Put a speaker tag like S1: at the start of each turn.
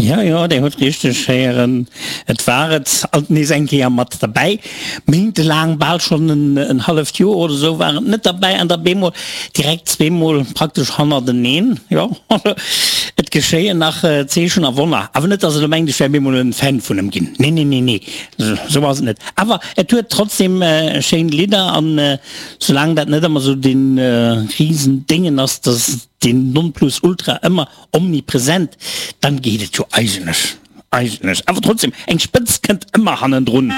S1: Jo, jo, Dir hutt richteg héieren, et war et alt nees eng Kéier mat derbäi. Méintelaang, bal schonn en halleft Joer oder esou war et net derbäi an da bemol direkt zweemol praktesch hannerteneen. Jo, et geschéien nach Zeechen a Wonner. Awer net, datt Der elo mengt, ech wär bemol en Fan vun em ginn. Nee, nee, nee, nee, esou ass et net. Awer et huet trotzdem schéin Lidder an soulaang dat net ëmmer esou dee Risendéngen ass, datt deen Nonplusultra ëmmer Omnipresent, dann geet et jo eigentlech, eigentlech, awer trotzdem, eng Spëtz kënnt ëmmer hannendrun.